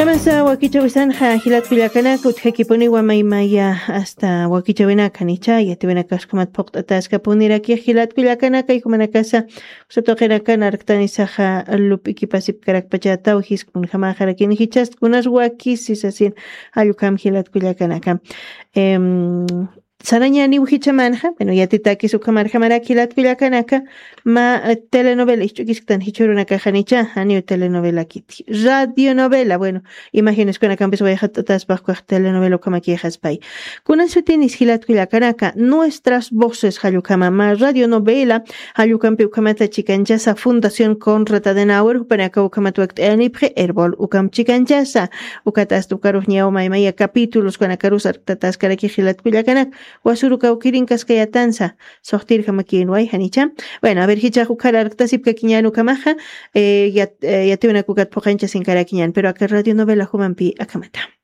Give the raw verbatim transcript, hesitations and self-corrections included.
Amasa wakichawisanxa jilatkullakanaka utjakipuniwa maymaya asta wakichawinaka nicha yatiwinakaskumat phuqt'ataskapuniraki jilatkullakanaka ikumanakasa usatuqinakana arktanisaxa lup'ikipasipkarakpachataw jiskun jamaxarakini jichastkunas wakisisasin. Allukam jilatkullakanaka. Em, sarañaniw jichamanxa bueno yatitakis ukhamarjamarak jilatkullakanaka ma telenovela isch'ukisktan jichhurunakaxanicha janiw telenovela kiti radionovela bueno imagineskunakampis wayxat'ataspaxkuax telenovela ukhamakixaspay. Kunan sutinis jilatkullakanaka nuestras voces jallukama ma radionovela jallukampi ukhamata chikanchasa fundación conrad adenauer jupanaka ukhamat wakt'ayanipxi erbol ukham chikanchasa. Ukatasta ukarux ñawma imaya capítulos kanakarus artataskaraki jilatkullakanak wasuru kawkirinkaskayatansa. Suxtirjamakinway janicha. Bueno a ver jichax ukhar arktasipkakiñan ukhamaxa yatiwinakukat phuqanchasinkarakiñan pero aka radionovela jumampi akhamata.